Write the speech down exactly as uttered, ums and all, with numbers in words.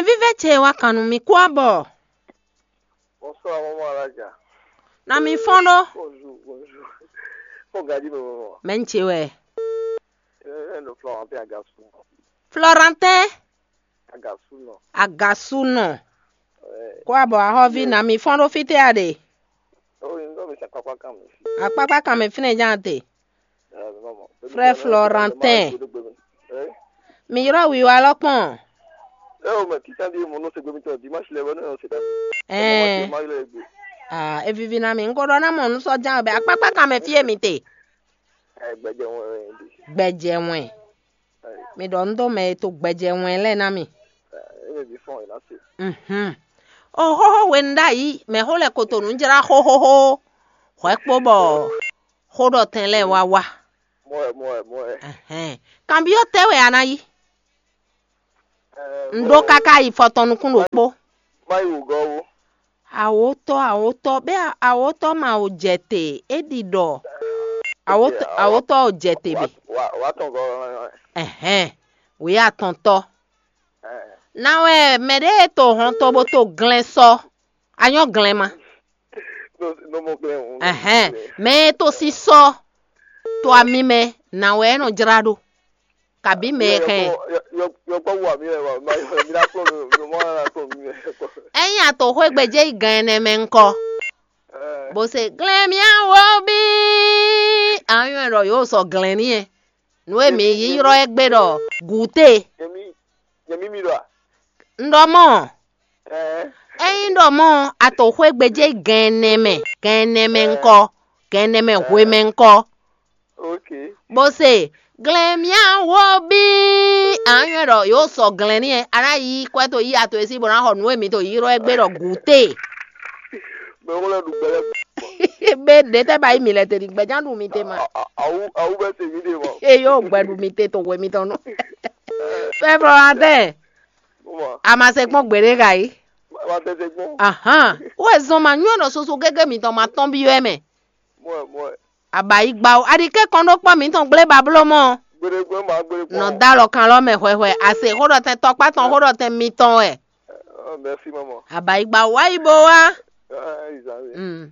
Vívɛ ce wá kan nú mi kú abɔ. Bonsoir, maman Alaja. Na mi fɔn ɖó. Bonjour, bonjour. Fɔn gadi, maman. Mɛ n ce wɛ. Eh, eh, no, Florentin Agasu. Florentin Agasu, non. Agasu, non. Eh, kú abɔ ahɔvi, na mi fɔn ɖó fítɛ́ a ɖe. Oh, you know, mi sa kpakpa kan mi. Akpakpa kan mi fínɛ ján te. Eh, maman. Frère Florentin. Eh? Mi yrɔ wiwa lɔ kpɔn. Eh, o, mais qui t'a dit mon nom, c'est Gomitɔ, dimanche, les venus, c'est ta. Ɛɛ. Ah, e vivi na mi. N ko ɖɔ na mɔ nu sɔ jan bɛ akpakpa kan mɛ fie mi te. Eh, gbɛjɛ wọn, eh, di. Gbɛjɛ wọn. Eh. Mi ɖɔ n do mɛ e to gbɛjɛ wọn lɛ na mi. Eh, e bi fɔn e na se. Mhm. O xoxo we n ɖa yi mɛ xo lɛ koto nu jra xoxoxo. Hwɛ kpo bɔ xo ɖɔ tɛn lɛ wa wa. Mɔɛ, mɔɛ, mɔɛ. Ɛhɛn. Kanbyɔ tɛ wɛ a na yi? Eh, n ɖó káká yi fɔtɔn nukún ɖokpó. Má yi wǔgɔ́ wú. Awǒtɔ́, awǒtɔ́, bɛ́ awǒtɔ́ ma o jɛ te, é ɖi ɖɔ awǒtɔ́, awǒtɔ́ o jɛ te bɛ. Wà, wà tɔn gɔ́. Ɛhɛn, wǐ atɔntɔ́. Eh. Ná wɛ mɛ ɖé e to hɔn to bó to glɛ́n sɔ́, a nyɔ́ glɛ́n ma. No, no mɔ glɛ́n o. Ɛhɛn, mɛ e to sísɔ to ami mɛ, nǎ wɛ é nɔ jlá ɖó. Kabí mɛ e hɛn. Yɔkpɔ́ wú ami wɛ wá, ma yɔ mi ná kplɔ́n mi, mi mɔ ná kplɔ́n mi wɛ. Ényí a to xwé gbɛjɛ yi gan ɛnɛ mɛ ŋkɔ. Bó se glɛ́n mì awo bí. Anyɔ ɖɔ yóò sɔ glɛ́n ní ɛ. Nǔ e mǐ yi ylɔ́ ɛ gbé ɖɔ gǔté. Nyɛ mí, nyɛ mí mi ɖɔ a? Un ɖɔ mɔ́. Ɛɛ. Ényí ɖɔ mɔ́, a to xwé gbɛjɛ yi gan ɛnɛ mɛ, gan ɛnɛ mɛ ŋkɔ, gan ɛnɛ mɛ hwe mɛ ŋkɔ. Ok. Bó se glɛn mía wo bí. Anyɔ ɖɔ yóò sɔ glɛn ní ɛ, a ná yi kwɛ to yi ato e sí bó ná xɔ nǔ e mi to yi ylɔ́ ɛ gbé ɖɔ gǔté. Mɛ wó lɛ ɖu gbɛ lɛ. Bé ɖe tɛ ba yi mi lɛ te ɖi gbɛjá ɖu mi te ma. Awu, awu bɛ se mi ɖe mɔ. Eye yóò gbɛ ɖu mi te to hwe mitɔn nú. Fɛflɔ atɛ. Mɔ. A ma se kpɔn gbeɖe ka yi. Ma tɛ se kpɔn. Ahan. Wo zɔn ma nyɔ nɔ soso gege mitɔn ma tɔn bi wɛ mɛ. Mɔ, mɔ. Abayi gba o. Aɖi ke kɔn ɖó kpɔ mitɔn gblé bablo mɔ. Gbeɖe gbɛ ma gbeɖe kpɔn. Nɔ da lɔ kan lɔ mɛ hwɛhwɛ. A se xó ɖɔ tɛn tɔkpa tɔn xó ɖɔ tɛn mitɔn wɛ. Ɔ, merci maman. Abayi gba o wa yi bo wa. Ah, ils arrivent. Mm.